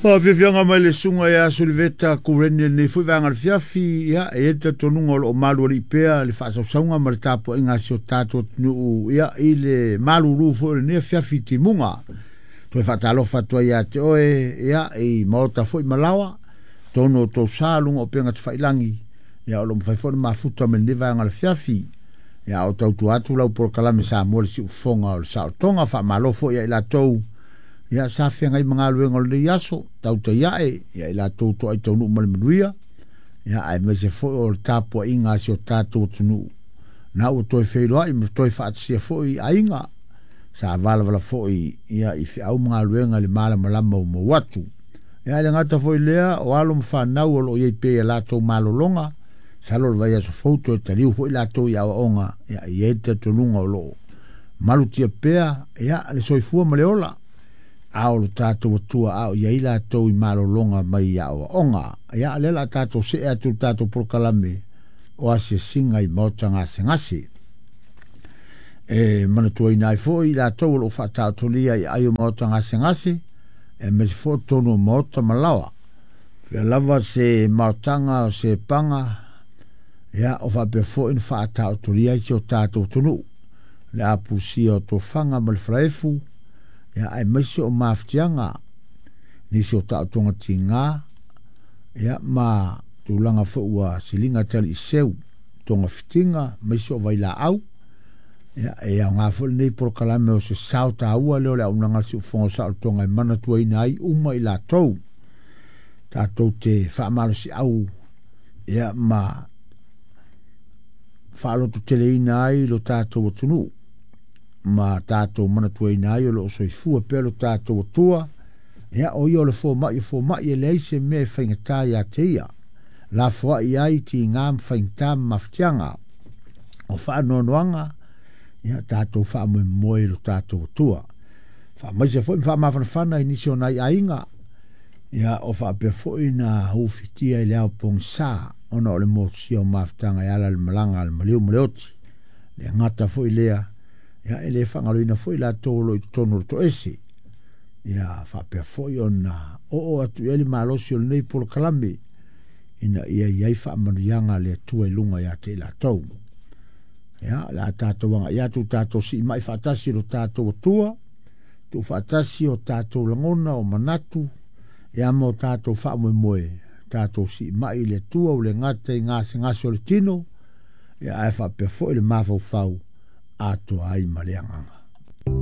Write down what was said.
Faafiafiaga mai le susuga ia Suliveta Kureni i lenei foi vaega o le fiafi, ia, e i ai le talitonuga o lo o malualii pea le faasausauga ma le tapuaiga a si o tatou atunuu, ia, i le malulu foi o lenei afiafi i timuga. Toe faatalofa atu ai ia te oe, ia, i maota foi ma laoa, totonu o tou sa luga o upega tafailagi, ia, o lo o mafai foi ona mafuta mai lenei vaega o le afiafi. Ia, a o tautua atu lau polokalame Samoa le siufofoga o le saolotoga, faamalo foi ia i latou ia sa feagai ma galuega o lenei aso, tautai ae ia i latou toai taunuu ma le manuia, ia aemaise foi o le tapuaiga a si o tatou atunuu na ua toe feiloai ma toe faatasia foi i aiga sa valavala foi ia i feau ma galuega i le malamalama ua mou atu. Ia e le gata foi lea, o alo ma fanau o lo o i ai pea i a latou malologa, masalo o le vaiaso fou toe taliu foi latou i aoaoga, ia e i ai le talitonuga o lo o malutia pea ia le soifua ma le ola a o lo tatou Atua a o i ai latou i malologa mai i aoaoga. Ia o lea o le a tatou see atu i le tatou polokalame o asiasiga i maota gasegase. E manatuaina ai foi i latou o lo o faataotolia i aai o maota gasegase, aemaise foi o totonu o maota ma laoa. Fea lava se maotaga o se paga, ia, o faapea foi ona faataotolia ai si o tatou atunuu, le apusia o tofaga ma le falaefu, ia, aemaise o mafatiaga, nisi o taotoga tiga, ia, ma tulaga foi ua siliga taliiseu, togafitiga, aemaise o vailaau. Ia, e aoga foi lenei polokalame o se sao taua lea o le auaunaga a le Siufofoga o Saolotoga e manatuaina ai uma i latou tatou te faamalosiau ia ma faalototeleina ai lo tatou atunuu ma tatou manatuaina ai o lo o soifua pea lo tatou Atua. Ia, o ia o le fomai o fomai, e leai se mea e faigata ia te ia. Lafoai ai tiga ma faigata ma mafatiaga o faanoanoaga, ia tatou faamoemoe i lo tatou Atua. Faamaise foi ma faamafanafana i nisi o nai aiga, ia o faapea foi na ufitia i le ao pogisa ona o le motusia o mafutaga e ala i le malaga a le maliu ma le oti. Le gata foi lea, ia e le faagaloina foi latou o lo o i totonu o le toese. Ia faapea foi ona oo atu i ai le malosi o lenei polokalame ina ia i ai faamanuiaga a le Atua i luga ia te i latou. Ia, o le a tatou agai atu tatou siimai faatasi i lo tatou Atua, tuufaatasi o tatou lagona, o manatu, ia ma o tatou faamoemoe, tatou siimai i le Atua ua le gata i gasegase o le tino, ia ae faapea foi le mafaufau atoa ai ma le agaga.